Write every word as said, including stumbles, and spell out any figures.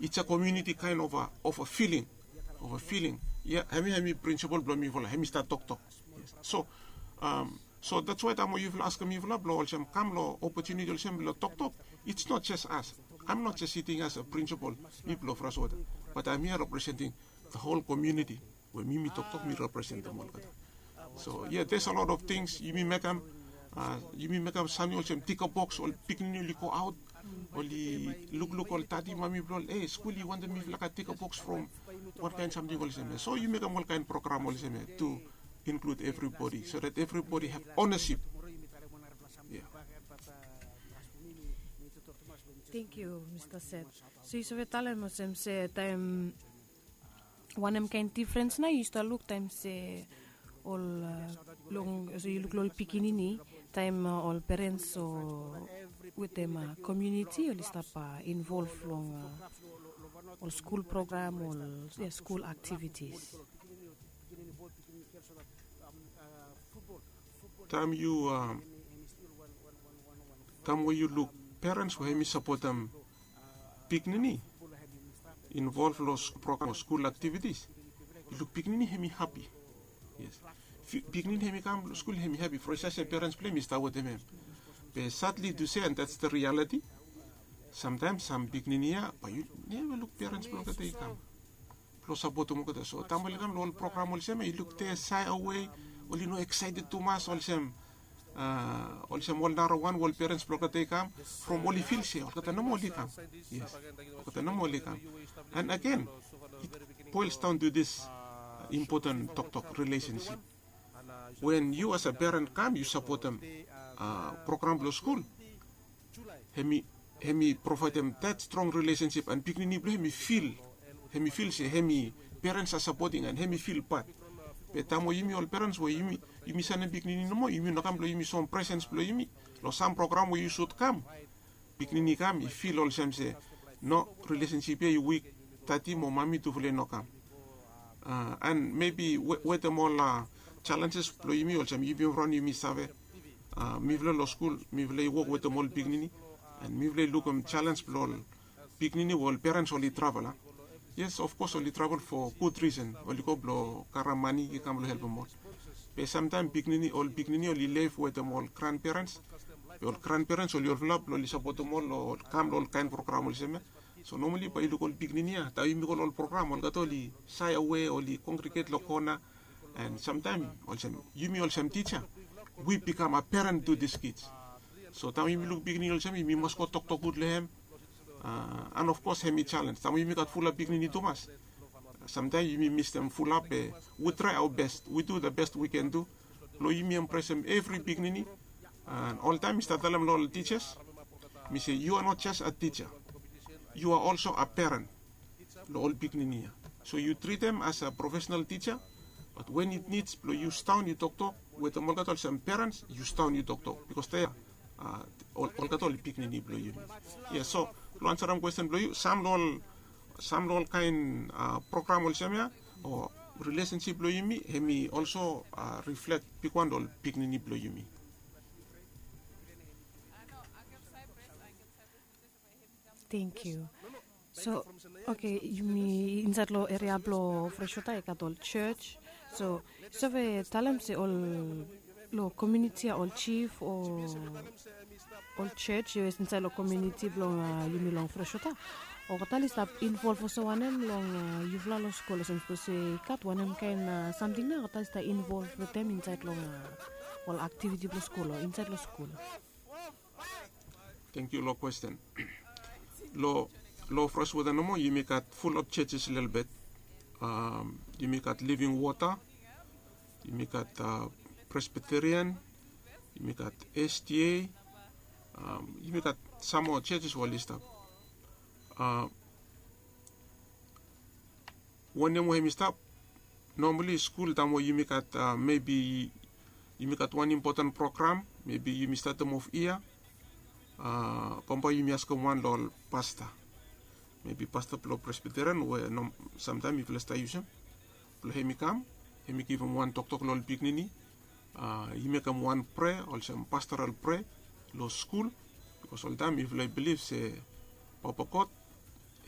It's a community kind of a, of a feeling, of a feeling. Ia, hemi, hemi prinsipol blong mifala, hemi stap toktok. Yes. So, um, so that's why taem we yufala askem mifala blong olsem kam long opotuniti olsem blong toktok, it's not just us. I'm not just sitting as a principal, mi blong Freshwater, but I'm here representing the whole community. We mi, mi toktok, mi representem olgeta. So yeah, there's a lot of things yumi mekem, uh, yumi mekem samting olsem tika boks, ol pikinini oli go aot, oli lukluk ol dadi mami blong ol, e, skul i wantem mifala gat tika boks from wan kaen samting olsem ia. So yu mekem ol kaen program olsem ia to include everybody so that everybody have ownership. Yeah. Thank you, Mr. Seth. So yu save talem olsem se taem wanem kaen difrens nao yu stap luk taem se ol long so yu luk long ol pikinini taem ol perens o wetem komuniti oli stap involv long ol skul program, ol skul aktivitis. Taem yu taem we yu luk perens we hemi sapotem pikinini involv long program o skul aktivitis, yu luk pikinini hemi hapi. Yes. Pikinini hemi kam long skul hemi hapi, from sait se perens blong hem i stap wetem hem. Be sadly to say, and that's the reality, samtaem sam pikinini ia bae yu neva luk perens blong olgeta i kam blong sapotem olgeta. So taem oli kam long ol program olsem ia, yu luk de shy away, oli no excited tumas olsem, olsem ol narawan we ol perens blong olgeta i kam from oli fil se olgeta nomo oli kam. Yes, olgeta nomo oli kam. And again, it boils down to this important toktok, relationship. When yu as a peren kam yu sapotem program blong skul, hemi hemi provaedem that strong relationship and pikinini blong hemi fil, hemi fil se hemi perens are supporting and hemi fil pat. Be taem we yumi ol perens we yumi yumi sanem pikinini nomo, yumi no kam blong yumi soem presens blong yumi long sam program we yu sud kam, pikinini i kam i fil olsem se no, relationship ia i wik, dadi mo mami tufala i no kam. And maybe wetem ol challenges blong yumi olsem yumi raon yumi save, mifala long skul mifala i wok wetem ol pikinini, and mifala i lukim challenge blong ol pikinini we ol perens oli travel a. Yes, of course oli travel for good reason, oli go blong karem mane i kam blong helpem ol. Be samtaem pikinini, ol pikinini oli lef wetem ol grandparents, be ol grandparents oli olfala blong oli sapotem ol long kam long ol kaen program olsem ia. So nomali bae yu luk ol pikinini ia taem yumi go long ol program olgeta oli shy away, oli congregate long kona. And samtaem olsem yumi olsem tija, we become a parent to these kids. So taem yumi luk pikinini olsem ia yumi mas go toktok gud long hem. And of course hemi challenge taem yumi gat fulap pikinini tumas. Samtaem yumi mistem fulap be we try our best, we do the best we can do blong yumi embracem evri pikinini. And oltaem mi stap talem long ol tijas, mi se you are not just a teacher, you are also a parent long ol pikinini ia. So yu tritem as a professional teacher, but when it needs blong yu sidaon yu toktok wetem olgeta olsem perens, yu sidaon yu toktok bikos de olgeta oli pikinini blong yumi. Ia, so long ansarem kwesten blong yu, sam long ol sam long ol kaen program olsem ia o relationship blong yumi hemi also reflect bigwan long ol pikinini blong yumi. Thank you. So okay, yumi insaed long eria blong Freshwater i gat ol church. So yu save talem se ol long komuniti ia ol chief o ol church insaed long komuniti blong yumi long Freshwater, olgeta oli stap involv olsem wanem long yufala long skul, olsem sapos i gat wanem kaen samting nao olgeta oli stap involv wetem insaed long ol aktiviti blong skul o insaed long skul? Thank you long kwesten. Long Freshwater nomo yumi gat fulap churches lelebet. Yumi gat Living Water, yumi gat Presbyterian, yumi gat SDA, yumi gat sam moa churches we oli stap. Wanem we hemi stap, nomali skul taem we yumi gat mebi yumi gat wan impoten program, mebi yumi statem of yia, bambae yumi askem wan long ol pasta, mebi pasta blong Presbyterian we samtaem yufala stap yusum, blong hemi kam, hemi givim wan toktok long ol pikinini. I mekem wan prea olsem pastoral prea long skul, bikos oltaem yufala i bilif se Papa God